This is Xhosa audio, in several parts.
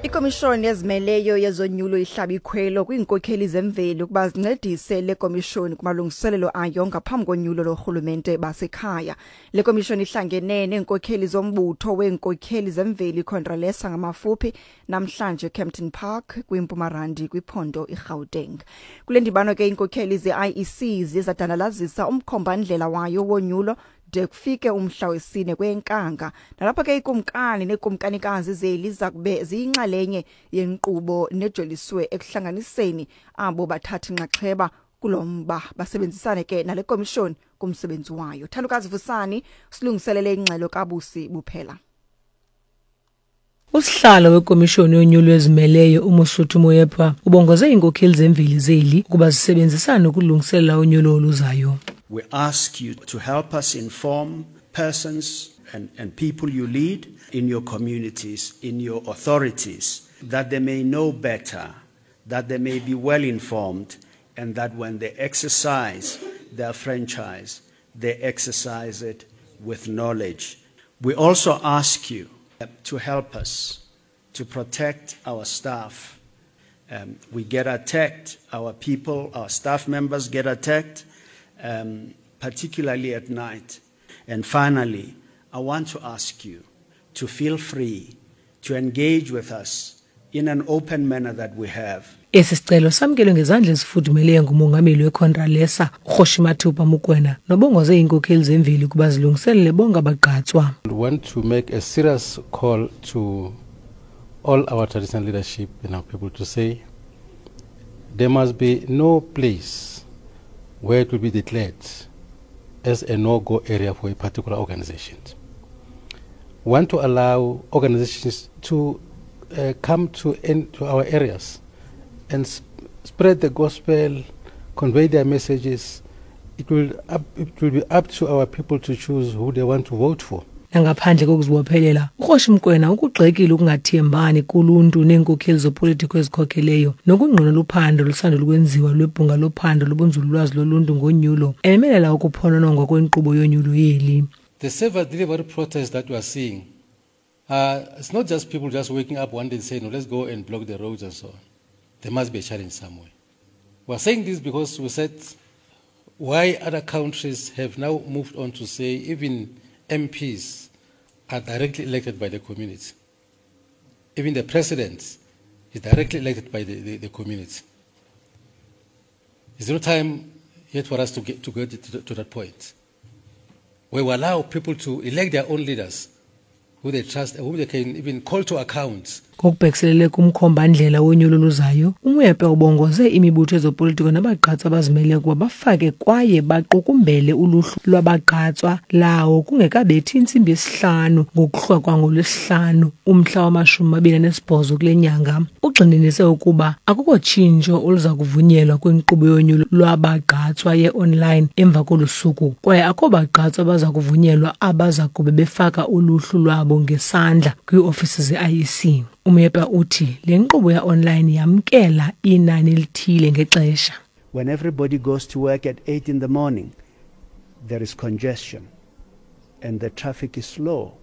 Ikomishoni ezimeleyo yezonyulo ihlaba ikhwelo kwiinkokheli zemveli ukuba zincedise le komishoni kumalungiselelo ayo ngaphambi konyulo lorhulumente basekhaya. Le komishoni ihlangene neenkokheli zombutho weenkokheli zemveli iContralesa ngamafuphi namhlanje Kempton Park kwiMpumarandi kwiphondo iGauteng. Kule ndibano ke iinkokheli ze-IEC ziye zadandalazisa umkhombandlela wayo wonyulo de kufike umhla wesine kwenkanga. Nalapho ke ikumkani neekumkanikazi zeli zakube ziyinxalenye yenkqubo nejoliswe ekuhlanganiseni abo bathatha inxaxheba kulo mba basebenzisane ke nale komishoni kumsebenzi wayo. Thandukazi Vusani silungiselele ingxelo kaBusi Buphela. Usihlalo wekomishoni yonyulo ezimeleyo uMosotho Moepha ubongoze iinkokheli zemveli zeli ukuba zisebenzisane ukulungiselela unyulo oluzayo. We ask you to help us inform persons and, and people you lead in your communities, in your authorities, that they may know better, that they may be well informed, and that when they exercise their franchise, they exercise it with knowledge. We also ask you to help us to protect our staff. Um, we get attacked, our people, our staff members get attacked, um, particularly at night. And finally, I want to ask you to feel free to engage with us in an open manner that we have. Esi sicelo samkelwe ngezandla ezifudumeleyo ngumongameli weContralesa uKgoshi Mathupa Mokoena nobongoze iinkokheli zemveli ukuba zilungiselele bonke abagqatswa. We want to make a serious call to all our traditional leadership and our people to say there must be no place where it will be declared as a no-go area for a particular organization. We want to allow organizations to uh, come to, in, to our areas and sp spread the gospel, convey their messages. It will, up, it will be up to our people to choose who they want to vote for. Nangaphandle kokuzibophelela, uKgoshi Mokoena ukugxekile ukungathembani kuluntu neenkokheli zopolitiko ezikhokheleyo nokungqinela uphando olusandul ukwenziwa lwebhunga lophando lobunzululwazi loluntu ngonyulo, ememelela ukuphononongwa kwenkqubo yonyulo yeli. The service delivery protest that we are seeing, uh, it's not just people just waking up one day and saying, no, let's go and block the roads and so on. There must be a challenge somewhere. We are saying this because we said why other countries have now moved on to say even MPs are directly elected by the community. Even the president is directly elected by the, the, the community. Is no time yet for us to get to, get to, to that point where we allow people to elect their own leaders who they trust and whom they can even call to account. Ngokubhekiselele kumkhombandlela wonyulo oluzayo, uMoepe ubongoze imibutho yezopolitiko nabagqatswa abazimeleyo ukuba bafake kwaye baqukumbele uluhlu lwabagqatswa lawo kungekabethi intsimbi yesihlanu ngokuhlwa kwangolwesihlanu umhla wamashumi mabini anesibhozo kule nyanga. Ugxininise ukuba akukho tshintsho oluza kuvunyelwa kwinkqubo yonyulo lwabagqatswa ye-online emva kolu suku kwaye akho bagqatswa baza kuvunyelwa abaza kube befaka uluhlu lwabo ngesandla kwiiofisi ze-IEC. UMoepe uthi le nkqubo ya-online yamkela inani elithile ngexesha. When everybody goes to work at 8 in the morning, there is congestion and the traffic is slow,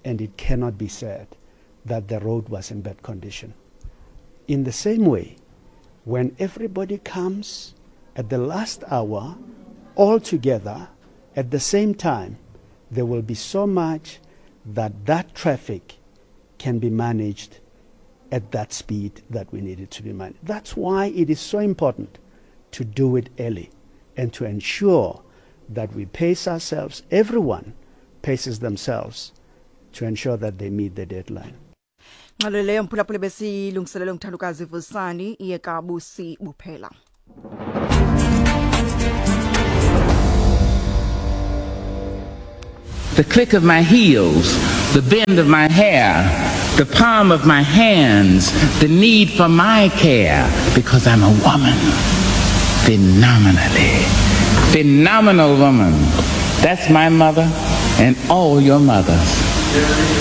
and it cannot be said that the road was in bad condition. In the same way, when everybody comes at the last hour, all together, at the same time, there will be so much that that traffic can be managed at that speed that we need it to be managed. That's why it is so important to do it early and to ensure that we pace ourselves, everyone paces themselves to ensure that they meet the deadline. Ngxelo leyo mphulaphula besiyilungiselele nguthandukazi Vusani iye kaBusi Buphela. The click of my heels, the bend of my hair, the palm of my hands, the need for my care, because I'm a woman. Phenomenally. Phenomenal woman. That's my mother and all your mothers.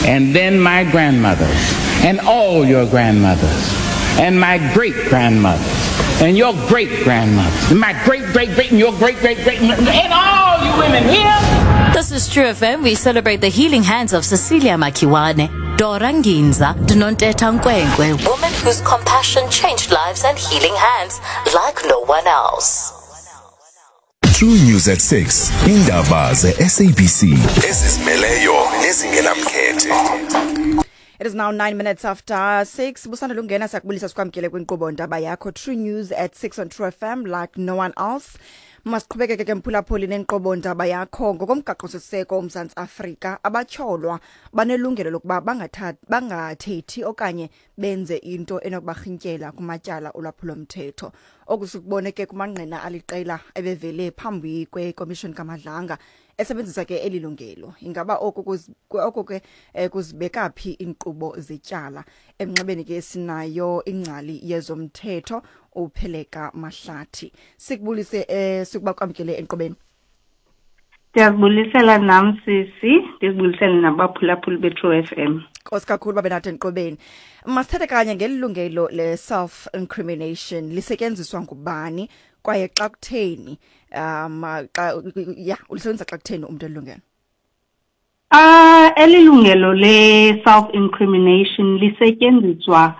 And then my grandmothers and all your grandmothers and my great-grandmothers and your great-grandmothers and my great-great-great and your great-great-great and all you women here. This is True FM. We celebrate the healing hands of Cecilia Makiwane. Dora Nginza, Nontetha Nkwenkwe, woman whose compassion changed lives and healing hands like no one else. True News at 6 indaba ze-SABC ezizimeleyo nezingenamkhethe. It is now 9 minutes after 6. Busanda lungena, siyakubulisa, sikwamkele kwinkqubo ndaba yakho True News at 6 on True FM like no one else. Masiqhubekeke ke, mphulaphuli, nenkqubo ndaba yakho. Ngokomgaqo-siseko woMzantsi Afrika, abatyholwa banelungelo lokuba bangathethi okanye benze into enokubarhintyela kumatyala olwaphulomthetho. Oku sikubone ke kumangqina aliqela ebevele phambi kwekomishoni kaMadlanga esebenzisa ke eli lungelo. Ingaba oku ke kuzibeka phi iinkqubo zetyala? Emnxebeni ke sinayo ingcali yezomthetho, uPheleka Mahlathi. Sikubulise, sikuba kwamkele enkqubeni. Ndiyazibulisela nam, sisi, ndizibulisele nabaphulaphuli be-True FM. Nkosi kakhulu babe nathi enkqubeni. Masithethe kanye ngeli lungelo le-self incrimination. Lisetyenziswa ngubani kwaye xa kutheni? Xa ya ulisebenzisa xa kutheni umntu elilungelo? Eli lungelo le-self incrimination lisetyenziswa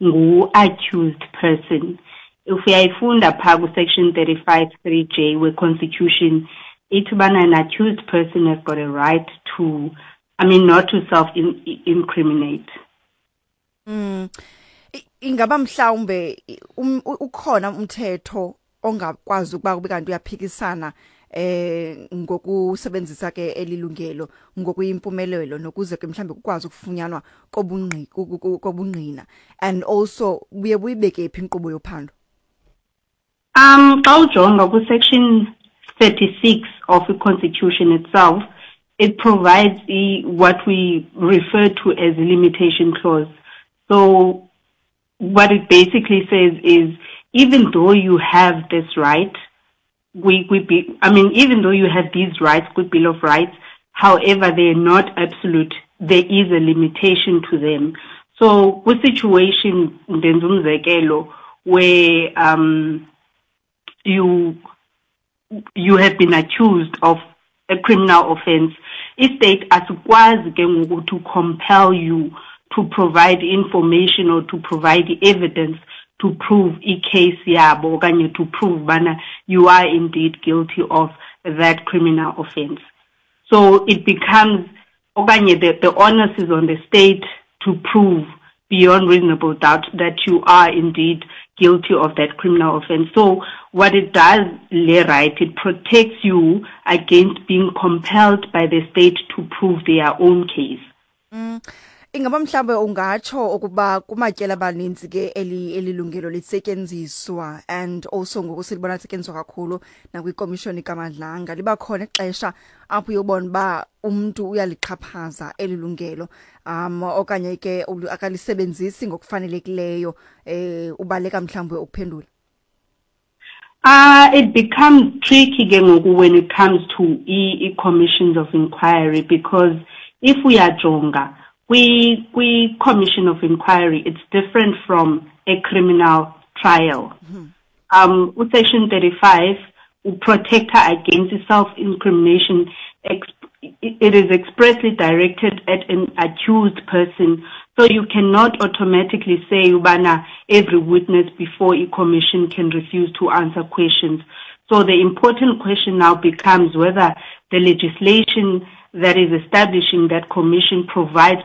ngu-accused person. If uyayifunda phaa ku-section 35 3J we-Constitution, ithi ubana an accused person has got a right to, I mean, not to self incriminate. Ingaba mhlawumbe ukhona umthetho ongakwazi ukuba kube kanti uyaphikisana ngokusebenzisa ke elilungelo ngokuyimpumelelo, nokuze ke mhlambe kukwazi ukufunyanwa kobungqina, and also buye buyibeke phi inkqubo yophando? Xa ujonga ku-section 36 of the Constitution itself, it provides what we refer to as a limitation clause. So what it basically says is, even though you have this right, we be, I mean, even though you have these rights, good Bill of Rights, however, they are not absolute. There is a limitation to them. So, with situation, ndenza umzekelo, where you have been accused of a criminal offense, i-state asikwazi ke ngoku to compel you to provide information or to provide evidence to prove i-case yabo okanye to prove bana you are indeed guilty of that criminal offense. So it becomes okanye the onus is on the state to prove beyond reasonable doubt that you are indeed guilty of that criminal offense. So what it does, le right, it protects you against being compelled by the state to prove their own case. Ingaba mhlambe ungatsho ukuba kumatyela abaninzi ke eli lungelo lisetyenziswa, and also ngoku silibona lisetyenziswa kakhulu nakwikomishoni kaMadlanga, liba khona ixesha apho uyobona uba umntu uyalixhaphaza eli lungelo okanye ke akalisebenzisi ngokufanelekileyo, ubaleka mhlawumbe ukuphendula? It becomes tricky ke ngoku when it comes to i-commissions of inquiry, because if uyajonga kwi-commission of inquiry, it's different from a criminal trial. Section 35 protector against self-incrimination. It is expressly directed at an accused person. So you cannot automatically say ubana every witness before a commission can refuse to answer questions. So the important question now becomes whether the legislation that is establishing that commission provides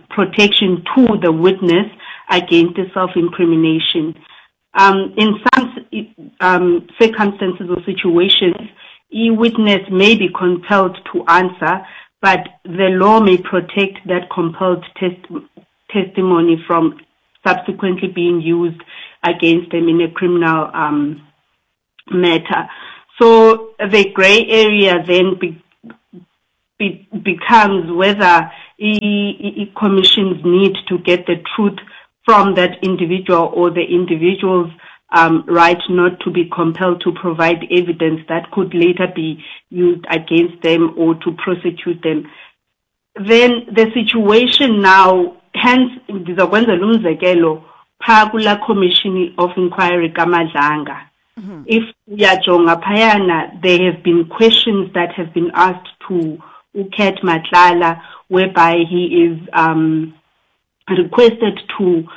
protection to the witness against the self-incrimination. In some circumstances or situations, a witness may be compelled to answer, but the law may protect that compelled testimony from subsequently being used against them in a criminal matter. So the gray area then becomes whether commissions need to get the truth from that individual or the individual's right not to be compelled to provide evidence that could later be used against them or to prosecute them. Then the situation now, hence, ndizokwenzela umzekelo phaa kulaa commission of inquiry kaMadlanga. If uyajonga phayana, there have been questions that have been asked to uCat Matlala. whereby he is requested to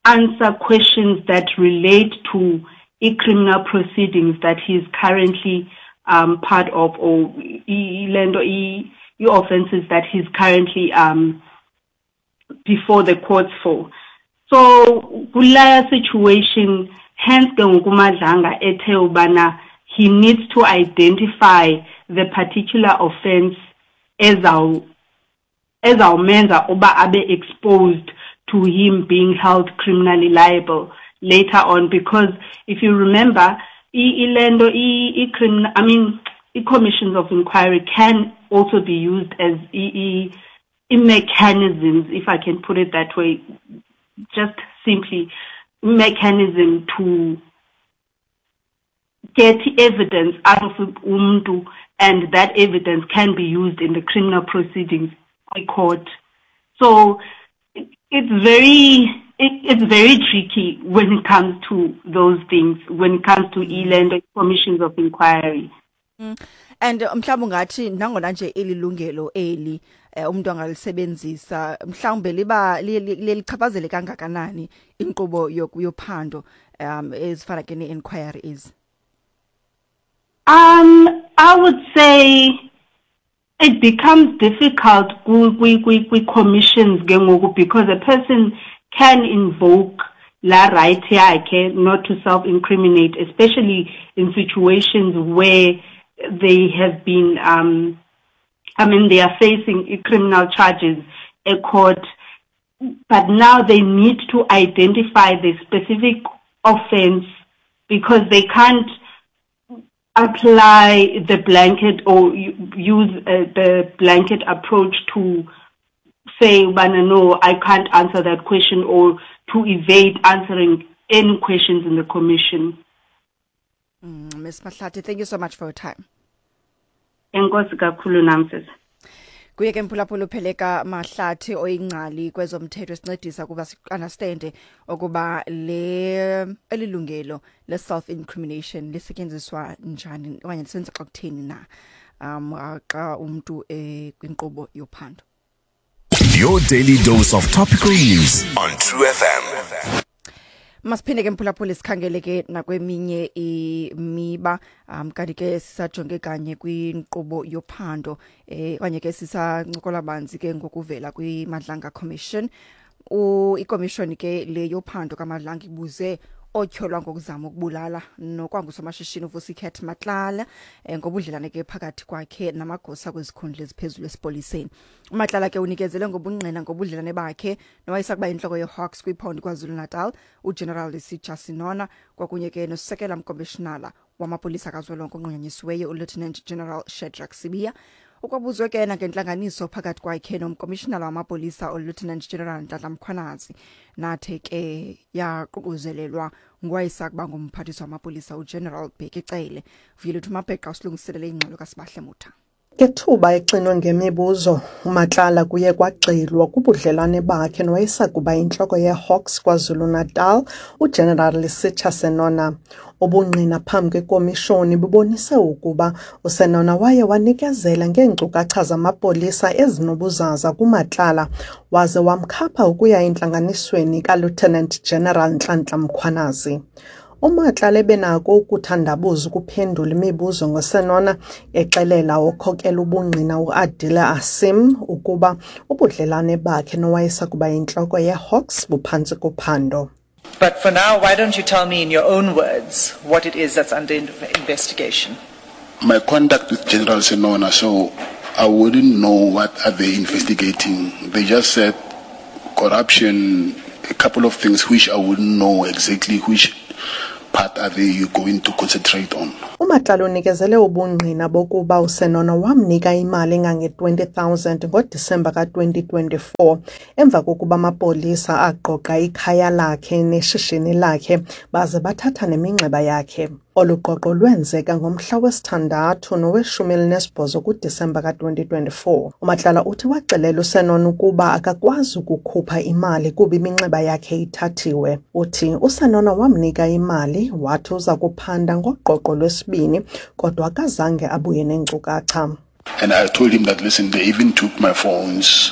answer questions that relate to criminal proceedings that he is currently part of, or i-offenses that he's currently before the courts for. So kulaya situation, hence ke ngoku uMadlanga ethe ubana he needs to identify the particular offense ezawumenza uba abe exposed to him being held criminally liable later on, because if you remember, ilento i-criminal, I mean, i-commissions of inquiry can also be used as i-mechanisms, if I can put it that way, just simply mechanism to get evidence out of umntu, and that evidence can be used in the criminal proceedings in court. So it's very tricky when it comes to those things, when it comes to e-land commissions of inquiry. And mhlawumbe ungathi nangona nje elilungelo eli umuntu angalisebenzisa, mhlawumbe liba lelichaphazele kangakanani inkqubo yophando ezifana ke ne-inquiry is? I would say it becomes difficult kwi-commissions ke ngoku, because a person can invoke la right yakhe not to self-incriminate, especially in situations where they have been, I mean, they are facing criminal charges at court, but now they need to identify the specific offense because they can't apply the blanket or use the blanket approach to say, "Bana, no, I can't answer that question," or to evade answering any questions in the commission. Ms. Mahlati, thank you so much for your time. Enkosi kakhulu nam, sisi. Kuye ke, mphulaphula, uPheleka Mahlathi oyingcali kwezomthetho, esincedisa kuba si-understande ukuba le elilungelo le self incrimination lisetyenziswa njani okanye lisebenza xa kutheni na xa umuntu kwinkqubo yophando. Your daily dose of topical news on True FM. Masiphinde ke, mphulaphula, sikhangele ke nakweminye imiba. Kanti ke sisajonge kanye kwinkqubo yophando okanye ke sisancokola banzi ke ngokuvela kwiMadlanga Commission. Ikomishoni ke le yophando kaMadlanga ibuze otyholwa ngokuzama ukubulala nokwangusomashishini uVusi Cat Matlala ngobudlelane ke phakathi kwakhe namagosa kwezikhundla eziphezulu esipoliseni. UMatlala ke unikezele ngobungqina ngobudlelane bakhe nowayesakuba yintloko yeHawks kwiphondo KwaZulu-Natal uGeneral Lesetja Senona, kwakunye ke nosekela mkomishinala wamapolisa kazwelonke onqunyanyisiweyo uLieutenant General Shadrack Sibiya. Ukwabuzwe ke nangentlanganiso phakathi kwakhe nomkomishinala wamapolisa uLieutenant General Nhlanhla Mkhwanazi, nathe ke yaququzelelwa nguwayesakuba ngumphathiswa wamapolisa uGeneral Bheki Cele. Vuyelethhu Mabheqa usilungiselele ingxelo kaSibahle Mutha. Ngethuba exinwe ngemibuzo uMatlala, kuye kwagxilwa kubudlelwane bakhe nowayesakuba yintloko yeHawks KwaZulu-Natal uGeneral Lesetja Senona. Ubungqina phambi kwekomishoni bubonise ukuba uSenona waye wanikezela ngeenkcukacha zamapolisa ezinobuzaza kuMatlala, waze wamkhapha ukuya entlanganisweni kaLieutenant General Nhlanhla Mkhwanazi. UMatlala ebenako ukuthandabuza ukuphendula imibuzo ngoSenona, exelela okhokela ubungqina uAdila Asim ukuba ubudlelwane bakhe nowayesakuba yintloko yeHawks buphantsi kophando. But for now, why don't you tell me in your own words what it is that's under investigation? My contact with General Senona, so I wouldn't know what are they investigating. They just said corruption, a couple of things which I wouldn't know exactly which part are they going to concentrate on. UMatlala unikezele ubungqina bokuba uSenona wamnika imali engange-20,000 ngoDisemba ka-2024 emva kokuba amapolisa agqogqa ikhaya lakhe neshishini lakhe baze bathatha neminxeba yakhe. Olu gqogqo lwenzeka ngomhla wesithandathu noweshumi elinesibhozo kuDisemba ka-2024. UMatlala uthi waxelela uSenona ukuba akakwazi ukukhupha imali kuba iminxeba yakhe ithathiwe. Uthi uSenona wamnika imali, wathi uza kuphanda ngogqogqo lwesibini, kodwa akazange abuye neenkcukacha. And I told him that, listen, they even took my phones.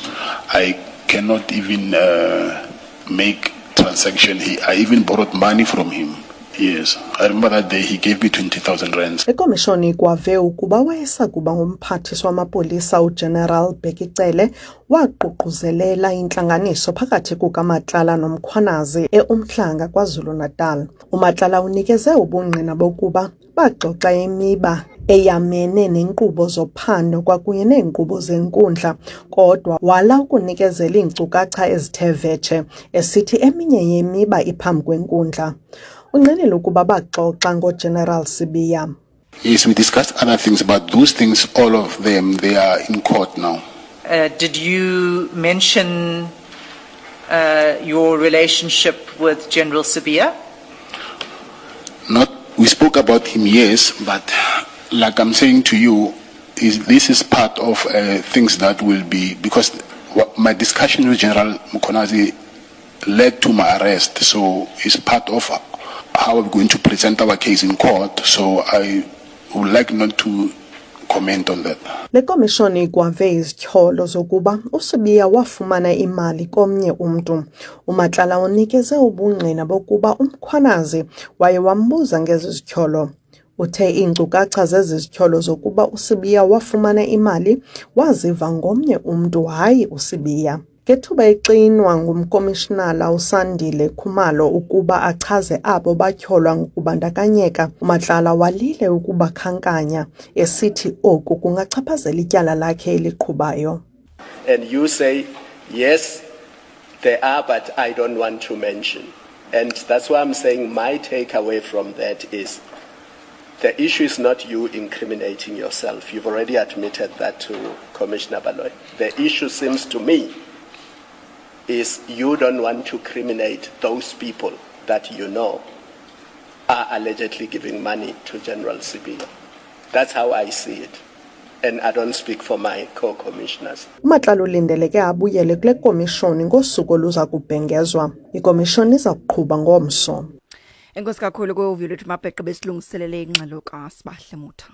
I cannot even uh, make transaction. He, I even borrowed money from him. Yes, I remember that day he gave me 20,000 rands. Ikomishoni ikwave ukuba wayesakuba ngumphathiswa wamapolisa uGeneral Bheki Cele waququzelela intlanganiso phakathi kukaMatlala noMkhwanazi eUmhlanga KwaZulu-Natal. UMatlala unikeze ubungqina bokuba baxoxa imiba eyamene neenkqubo zophando kwakunye neenkqubo zenkundla kodwa wala ukunikezela iinkcukacha ezithe vetshe esithi eminye yemiba iphambi kwenkundla. Ungqinile ukuba baxoxa ngoGeneral Sibiya. Yes, we discussed other things, but those things, all of them, they are in court now. Uh, did you mention uh, your relationship with General Sibiya? Not, we spoke about him, yes, but like I'm saying to you, is this is part of uh, things that will be because my discussion with General Mkhwanazi led to my arrest, so it's part of how we're going to present our case in court. So I would like not to comment on that. Le komishoni ikwave izityholo zokuba uSibiya wafumana imali komnye umntu. UMatlala unikeze ubungqina bokuba uMkhwanazi waye wambuza ngezi zityholo. Uthe iinkcukacha zezi zityholo zokuba uSibiya wafumana imali waziva ngomnye umntu hayi uSibiya. Ngethuba exinwa ngumkomishinala uSandile Khumalo ukuba achaze abo batyholwa ngokubandakanyeka, uMatlala walile ukubakhankanya, esithi oku kungachaphazela ityala lakhe eliqhubayo. And you say, yes, there are, but I don't want to mention. And that's why I'm saying my takeaway from that is the issue is not you incriminating yourself. You've already admitted that to Commissioner Baloyi. The issue seems to me is you don't want to criminate those people that you know are allegedly giving money to General Sibiya. That's how I see it. And I don't speak for my co-commissioners. UMatlala ulindeleke abuyele kule komishoni ngosuku oluza kubhengezwa. Ikomishoni iza kuqhuba ngomso. Enkosi kakhulu kuvuyo lwethu Mabheqe besilungiselele ingxelo kaSibahle Mutha.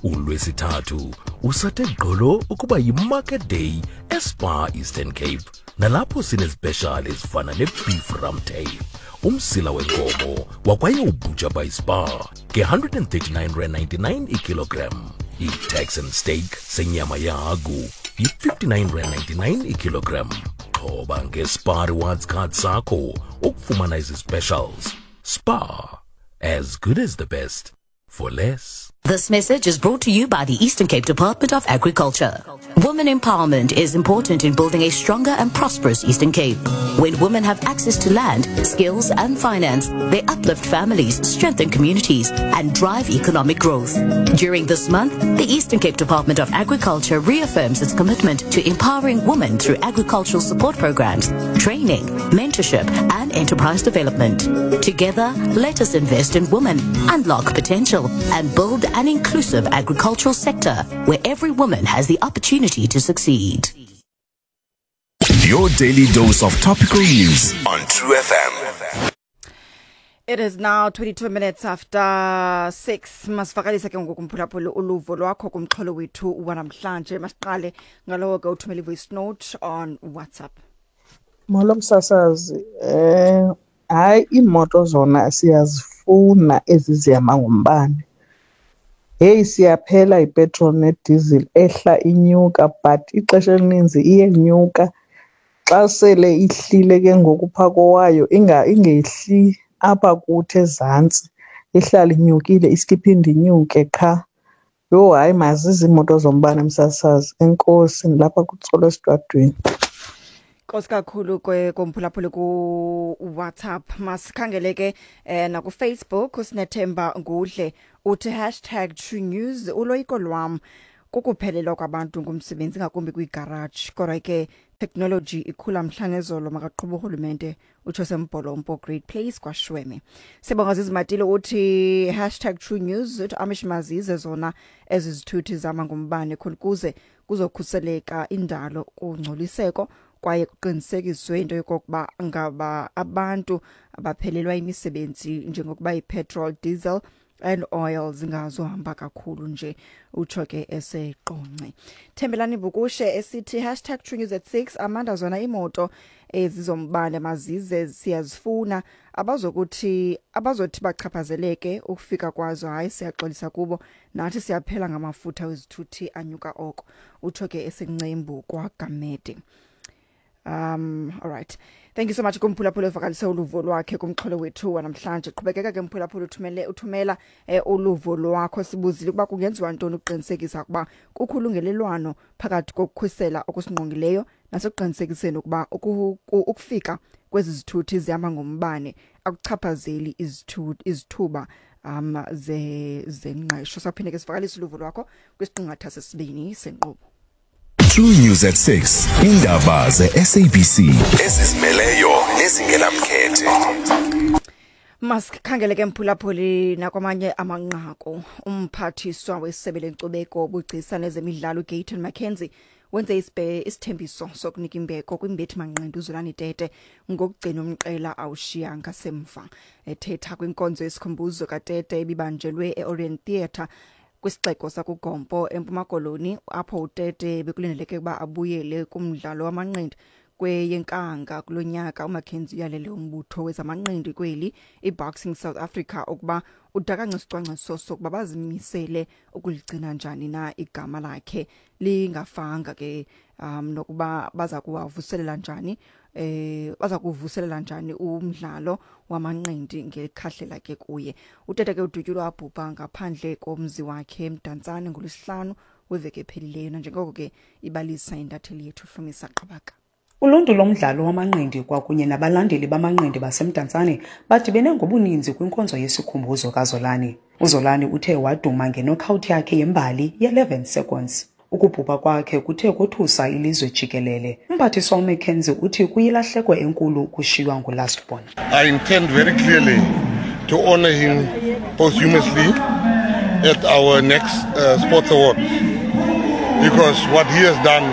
ULwesithathu usathe gqolo ukuba yiMarket Day eSpar Eastern Cape nalapho sinezipeshali ezifana ne-beef rum tail umsila wenkomo wakwaye ubhuja by Spar nge-139 rand 99 ikilogram i-Texan steak senyama yehagu yi-59 rand 99 ikilogram xhoba nge-Spar Rewards card sakho ukufumana ezi specials Spar as good as the best for less. This message is brought to you by the Eastern Cape Department of Agriculture. Women empowerment is important in building a stronger and prosperous Eastern Cape. When women have access to land, skills, and finance, they uplift families, strengthen communities, and drive economic growth. During this month, the Eastern Cape Department of Agriculture reaffirms its commitment to empowering women through agricultural support programs, training, mentorship, and enterprise development. Together, let us invest in women, unlock potential, and build an inclusive agricultural sector where every woman has the opportunity to succeed. Your daily dose of topical news on True FM. It is now 22 minutes after 6. Masivakalise ke ngoku mphulaphuli uluvo lwakho kumxholo wethu wanamhlanje. Masiqale ngalowo ke uthumele voice note on WhatsApp. Molo msasazi, eh hayi iimoto zona siyazifuna ezi zihamba ngombane. Heyi siyaphela ipetroli nediesel ehla inyuka but ixesha elininzi iyenyuka. Xa sele ihlile ke ngoku phaa kowayo ingehli apha kuthi ezantsi, ihlale inyukile iske iphinde inyuke qha. Yho hayi mazize iimoto zombane msasazi. Enkosi, ndilapha kuTsolo esitratweni. Nkosi kakhulu komphulaphuli ku-WhatsApp. Masikhangele ke eh, nakuFacebook uSinethemba Ngudle uthi hashtag True News uloyiko lwam kukuphelelwa kwabantu ngumsebenzi ngakumbi kwiigaraji kodwa ke technology ikhula mhla nezolo makaqhuba urhulumente utsho sembholompo great place kwashweme sibonga zizimatile uthi hashtag true news uthi amish mazize zona ezi zithuthi zama ngombane khona ukuze kuzokhuseleka indalo kungcoliseko kwaye kuqinisekiswe into yokokuba ngaba abantu abaphelelwa imisebenzi njengokuba ipetrol diesel and oil zingazohamba kakhulu nje, utsho ke eseqonce. Thembelani Bukushe esithi hashtag True News at 6. Amanda, zona imoto ezizombane mazize, siyazifuna. Abazokuthi abazothi bachaphazeleke ukufika kwazo, hayi, siyaxolisa kubo, nathi siyaphela ngamafutha wezithuthi anyuka oko, utsho ke esencembu kwaGamede. All right, thank you so much kumphulaphula evakalise uluvo lwakhe kumxholo wethu wanamhlanje. Qhubekeka ke mphulaphula, uthumele uthumela uluvo lwakho. Sibuzile ukuba kungenziwa ntoni ukuqinisekisa ukuba kukho ulungelelwano phakathi kokukhusela okusingqongileyo nasekuqinisekiseni ukuba ukufika kwezi zithuthi zihamba ngombane akuchaphazeli izithuba ze zengqesho. Saphinde ke sivakalise uluvo lwakho kwisiqingatha sesibini senkqubo. True News at 6, indaba ze-SABC ezizimeleyo nezingenamkhethe. Masikhangele ke mphulaphuli nakwamanye amanqaku. Umphathiswa wesebe lenkcubeko, ubugcisa nezemidlalo uGayton McKenzie wenze isithembiso sokunika imbeko kwimbethi manqindi uZolani Tete ngokugcina umqela awushiya ngasemva. Ethetha kwinkonzo yesikhumbuzo kaTete ebibanjelwe e-Orient Theatre kwisixeko sakuGompo eMpuma Koloni, apho uTete bekulindeleke ukuba abuyele kumdlalo wamanqindi kweyeNkanga kulo nyaka, uMcKenzie uyalele umbutho wezamanqindi kweli iBoxing South Africa ukuba udakance isicwangciso sokuba bazimisele ukuligcina njani na igama lakhe lingafanga ke, nokuba baza kuwavuselela njani baza kuvuselela njani umdlalo wamanqindi ngekhahlela ke kuye. UTete ke udutyulwa wabhubha ngaphandle komzi wakhe eMdantsane ngolwesihlanu weveki ephelileyo, nanjengoko ke ibalisa intatheli yethu Hlumisa Qabaka. Uluntu lomdlalo wamanqindi kwakunye nabalandeli bamanqindi baseMdantsane badibene ngobuninzi kwinkonzo yesikhumbuzo kaZolani. UZolani uthe waduma ngenokawuthi yakhe yembali ye-11 seconds. Ukubhubha kwakhe kuthe kothusa ilizwe jikelele. Umphathiswa uMcKenzie uthi kuyilahleko enkulu ukushiywa ngulastborn. I intend very clearly to honor him posthumously at our next sports awards, because what he has done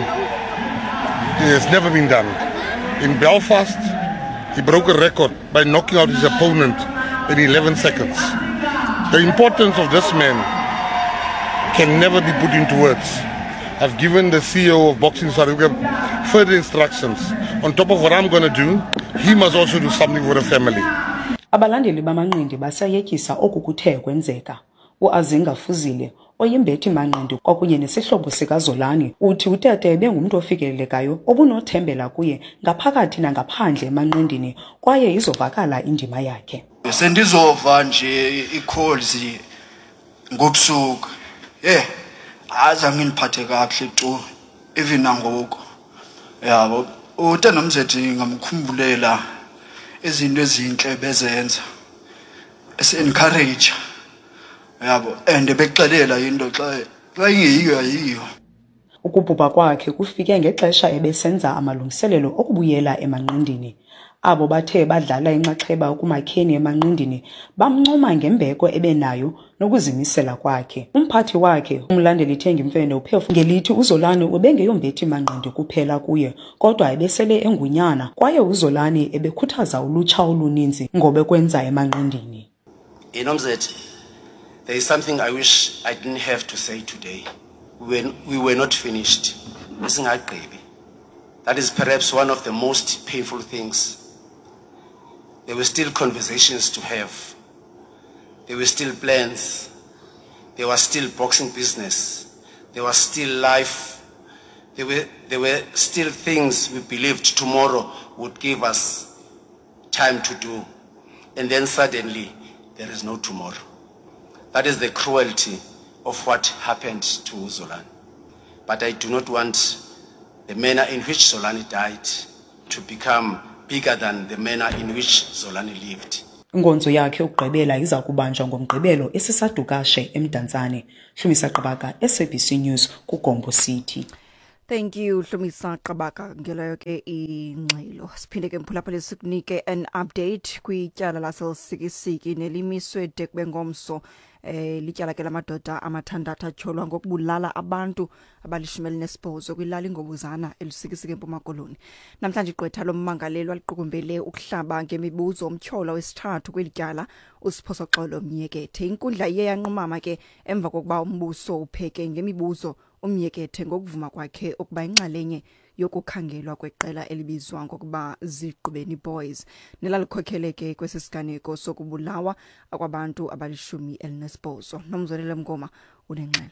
has never been done. In Belfast, he broke a record by knocking out his opponent in 11 seconds. The importance of this man can never be put into words. I've given the CEO of Boxing South Africa further instructions. On top of what I'm going to do, he must also do something for the family. Abalandeli bamanqindi basayetyisa oku kuthe kwenzeka. UAzinga Fuzile, oyimbethi manqindi kwakunye nesihlobo sikaZolani, uthi uTete ebengumntu ofikelelekayo obunothembela kuye ngaphakathi nangaphandle emanqindini, kwaye izovakala indima yakhe. Sendizova nje ii-calls ngobusuku, azange ndiphathe kakuhle tu, even nangoku, yabo. Utanomzethi ngamkhumbulela izinto ezintle bezenza, esi-encourage, yabo, and bekuxelela into xa ingeyiyo ayiyo. Ukubhubha kwakhe kufike ngexesha ebesenza amalungiselelo okubuyela emanqindini. Abo bathe badlala inxaxheba ekumakheni emanqindini bamncoma ngembeko ebenayo nokuzimisela kwakhe. Umphathi wakhe, umlandeli Thengimfene, uphefu ngelithi uZolani ubengeyombethi manqindi kuphela kuye, kodwa ebesele engunyana, kwaye uZolani ebekhuthaza ulutsha oluninzi ngobekwenza emanqindini. Nomzet, there is something I wish I didn't have to say today. We were not finished. Besingagqibi. That is perhaps one of the most painful things. There were still conversations to have. There were still plans. There was still boxing business. There was still life. There were still things we believed tomorrow would give us time to do. And then suddenly, there is no tomorrow. That is the cruelty of what happened to Zolani. But I do not want the manner in which Zolani died to become bigger than the manner in which Zolani lived. Inkonzo yakhe yokugqibela iza kubanjwa ngoMgqibelo eSisa Dukashe eMdantsane. Hlumisa Qabaka, SABC News, kuGompo City. Thank you Hlumisa Qabaka ngeleyo ke ingxelo. Siphinde ke mphulaphula sikunike an update kwityala laseLusikisiki nelimiswe de kube ngomso. Lityala ke lamadoda amathandathu atyholwa ngokubulala abantu abalishumi elinesibhozo kwilali Ngobuzana eLusikisiki eMpuma Koloni. Namhlanje igqwetha lommangalelwa liqukumbele ukuhlaba ngemibuzo umtyholwa wesithathu kweli tyala uSiphosoxolo Myekethe. Inkundla iye yanqumama ke emva kokuba umbuso upheke ngemibuzo uMyekethe ngokuvuma kwakhe ukuba inxalenye yokukhangelwa kweqela elibizwa ngokuba Zigqibeni Boys nelalikhokhele ke kwesi siganeko sokubulawa kwabantu abalishumi elinesibhozo. Nomzwelele Mngoma unengxelo.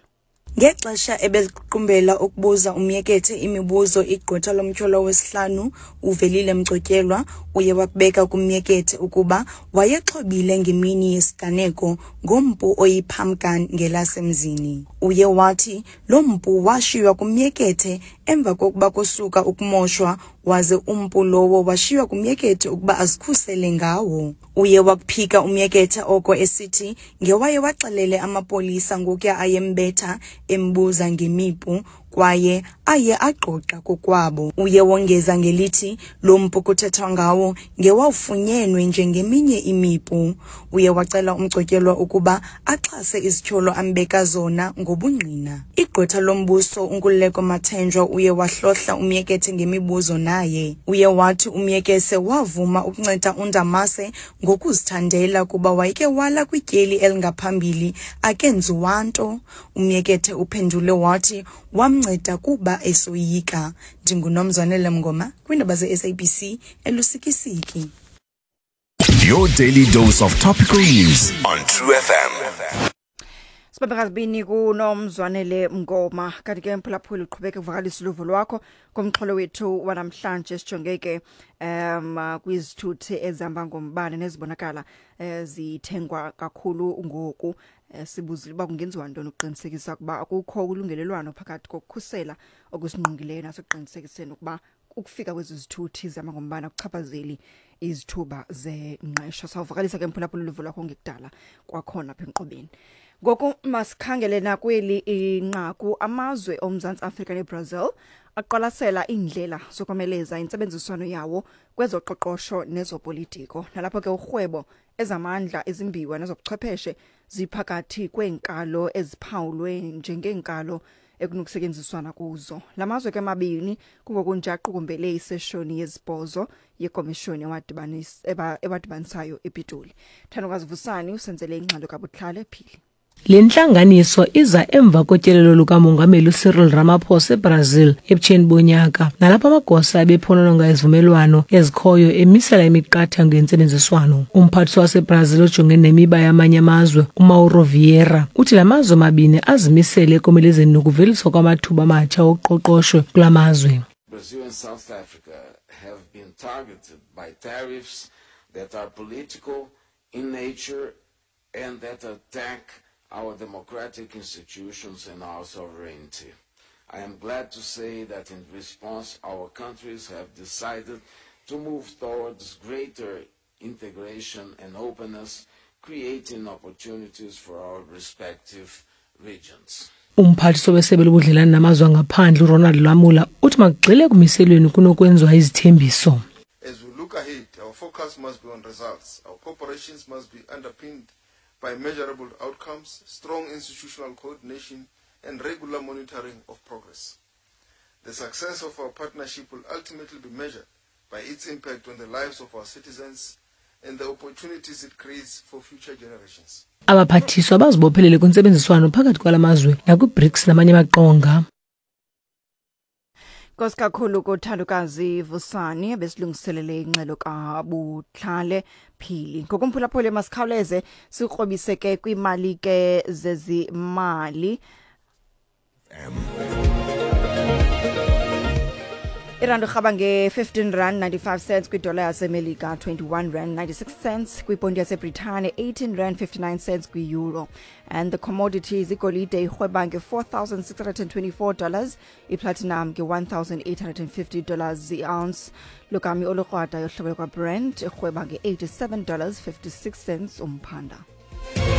Ngexesha ebeliqukumbela ukubuza uMyekethe imibuzo, igqwetha lomtyholwa wesihlanu uVelile Mgcotyelwa uye wakubeka kuMyekethe ukuba wayexhobile ngemini yesiganeko ngompu oyi-pump gun ngelasemzini. Uye wathi lo mpu washiywa kuMyekethe emva kokuba kusuka ukumoshwa, waze umpu lowo washiywa kuMyekethe ukuba azikhusele ngawo. Uye wakuphika uMyekethe oko esithi ngewaye waxelele amapolisa ngokuya ayembetha embuza ngemipu kwaye aye agqogqa kokwabo. Uye wongeza ngelithi lo mpu kuthethwa ngawo ngewawufunyenwe njengeminye imipu. Uye wacela umgcotyelwa ukuba axhase izityholo ambeka zona ngobungqina. Igqwetha lombuso uNkululeko Mathenjwa uye wahlohla uMyekethe ngemibuzo naye. Uye wathi uMyekese wavuma ukunceda uNdamase ngokuzithandela kuba wayeke wala kwityeli elingaphambili akenziwa nto. UMyekethe uphendule wathi wamnceda kuba esoyika. NdinguNomzwanele Mngoma kwiindaba ze-SABC eLusikisiki. Your daily dose of topical news on True FM. Sibambe ngazibini kuNomzwanele Mngoma. Kanti ke mphulaphuli uqhubeke uvakalisa uluvo lwakho ngomxholo wethu wanamhlanje. Sijonge ke kwizithuthi ezihamba ngombane nezibonakala zithengwa kakhulu ngoku. Sibuzile uba kungenziwa ntoni ukuqinisekisa ukuba akukho ulungelelwano phakathi kokukhusela okusingqongileyo nasekuqinisekiseni ukuba ukufika kwezi zithuthi zihamba ngombane akuchaphazeli izithuba zengqesho. Sawuvakalisa ke mphulaphula uluvo lwakho ngekudala kwakhona apha enkqubeni. Ngoku masikhangele nakweli inqaku. Amazwe oMzantsi Afrika neBrazil aqwalasela iindlela zokomeleza intsebenziswano yawo kwezoqoqosho nezopolitiko, nalapho ke urhwebo, ezamandla, izimbiwa nezobuchwepheshe ziphakathi kweenkalo eziphawulwe njengeenkalo ekunokusetyenziswana kuzo. La mazwe ke mabini kungokunje aqukumbele iseshoni yezibhozo yekomishoni ewadibanisayo ePitoli. Thandokazi Vusani usenzele ingxelo kaButlale Phili. Le ntlanganiso iza emva kotyelelo lukaMongameli uCyril Ramaphosa eBrazil ebutsheni bonyaka, nalapho amagosa ebephonononga izivumelwano ezikhoyo emisela imiqathango yentsebenziswano. Umphathiswa waseBrazil ojongene nemiba yamanye amazwe uMauro Vieira uthi la mazwe mabini azimisele ekomelezeni nokuveliswa kwamathuba amatsha oqoqosho kula mazwe. Brazil and South Africa have been targeted by tariffs that are political in nature and that attack our democratic institutions and our sovereignty. I am glad to say that in response, our countries have decided to move towards greater integration and openness, creating opportunities for our respective regions. Umphathiswa wesebe lobudlelane namazwe angaphandle uRonald Lamola uthi makugxile ekumiselweni kunokwenziwa izithembiso. As we look ahead, our focus must be on results. Our cooperations must be underpinned by measurable outcomes, strong institutional coordination, and regular monitoring of progress. The success of our partnership will ultimately be measured by its impact on the lives of our citizens and the opportunities it creates for future generations. Abaphathiswa bazibophelele kwintsebenziswano phakathi kwala mazwe nakwiBRICS namanye amaqonga. Nkosi kakhulu kothandokazi Vusani besilungiselele ingxelo kaButlale Phili. Ngokumphulaphula masikhawuleze sikrobise ke kwimali ke zezimali. Irandi rhaba nge-15 rand 95 cents kwidola yaseMelika, 21 rand 96 cents kwiponti yaseBritane, 18 rand 59 cents kwi-euro. And the commodities: igolide irhweba nge-$4,624, iplatinum nge-$1,850 i-ounce. Logama olukrwada yohlobo lwakwaBrent irhweba nge-$87.56 umphanda.